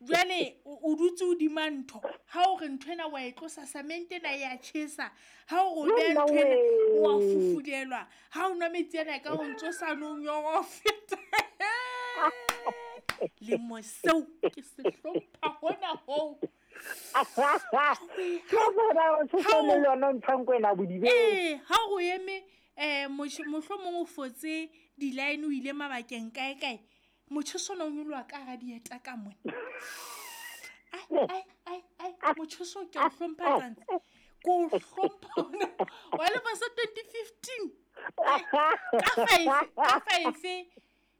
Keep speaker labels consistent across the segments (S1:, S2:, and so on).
S1: Jwale o dutse hodima ntho, ha o re ntho ena wa e tlosa, cement ena ya tjhesa. Ha o re o beha ntho ena, wa fufulelwa. Ha o nwa metsi ana ka o ntso sa no nyorwa ho feta. Lemo seo ke se hlompha hona hoo. Ee, ha o eme mohlomong o fotse di-line o ile mabakeng kae kae, motjheso ona o nyoloha ka hara dieta ka mona. Ai, ai, ai, motjheso ke o hlompha tsantsi. Ke o hlompha hona. Wa lemo sa 2015.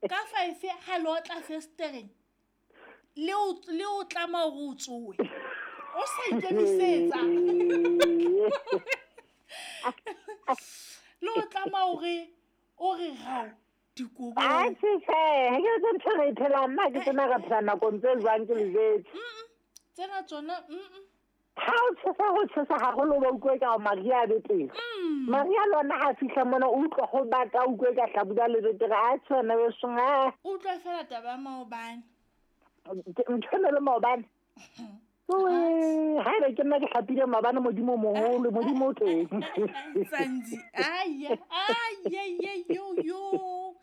S1: Ka five ha le otla festereng, le o tlama hore o tsoe. O sa ikemisetsa. Le o tlama hore o re rao dikobo.
S2: A se se, ha ke tse ntho re phela nna ke tsena re phela nakong tse jwang ke le jwetse.
S1: Tsena tsona
S2: Ha o tshesa ho tshesa haholo ba utlwe ka Maria a be teng. Maria lona ha fihla mona o utlwa ho bata o utlwe ka hlabula le betere a tshwana be songa.
S1: O utlwa fela taba ya maobane.
S2: Ntho le maobane. Ha ebe ke nna ke hlapile maobane modimo moholo modimo o teng.
S1: Tsantsi ai ai yo yo.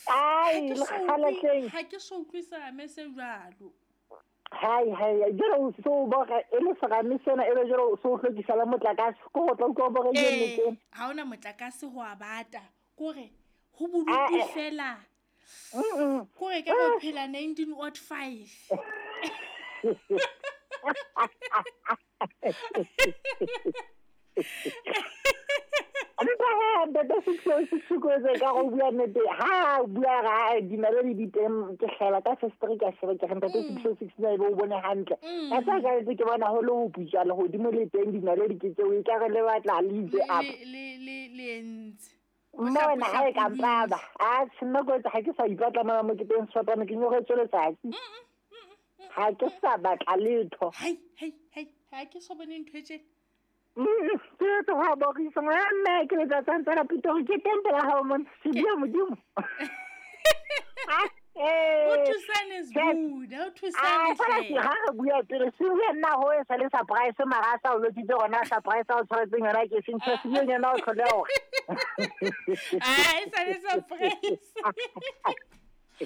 S2: Ai le kgale
S1: ha ke so utlwisa me se jwalo.
S2: Hai hai jalo o so boga e le serame sena e be jalo so hlokisa la motlakase ko go tla utlwa boga e le teng.
S1: Ha ona motlakase ho a bata kore ho bodutu fela. Kore ke go phela 1905.
S2: Ntate Six06 ka go bua nnete ha bua ga dinaledi di teng ke hlela ka festere ka sheba ke re ntate 606 na e be o bone hantle. Ka sa ka ke bona ho le ho putswa le hodimo le teng dinaledi ke tseo e ka re le batla le itse up.
S1: Le entse.
S2: Nna wena ha e ka mpaba. A nna ko etsa ha ke sa ipatla mona mo ke teng sefapano ke nyoretswe letsatsi. Ha ke sa batla letho.
S1: Hai hai hai ha ke so bone ntho e tjena.
S2: Ke tlo ha borisa ngwana ke letsatsi ntse la Pitori ke teng pela hao mona se bua modimo.
S1: O thusane Sbuda, o thusane
S2: hle. Ha re bua pele se bua nna ho e sa le surprise mara sa o lotitse rona surprise o tshwaretseng yona ke seng se bua yona o tlhole hore.
S1: Ah, e sa le surprise.
S2: O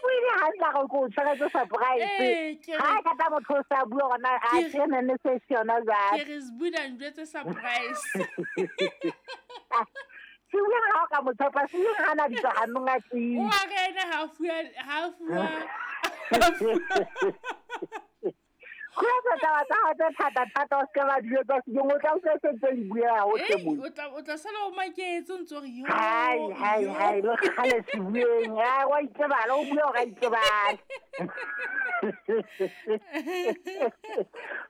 S2: buile hantle ga ko tshwaretse surprise. Ha ka tla motho o sa bua gona a tsene ne se se yona jwale.
S1: Ke re Sbuda njwetse surprise.
S2: Se bua ha ka motho pa se ha na ditso hanong a tsi.
S1: O a re ena ha fuwa.
S2: Go tla tla tla thata thata o se ba dilo tsa se o tla o se tse di bua ho tle mo.
S1: O tla sala o maketse o ntse re yo.
S2: Hai hai hai lo khale se bueng. Ha wa itsebala o bua o ga itsebala.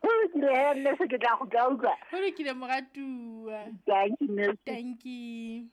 S2: Ho lokile he nne se ke tla go tla utlwa.
S1: Ho lokile moratuwa.
S2: Thank you.
S1: Thank you.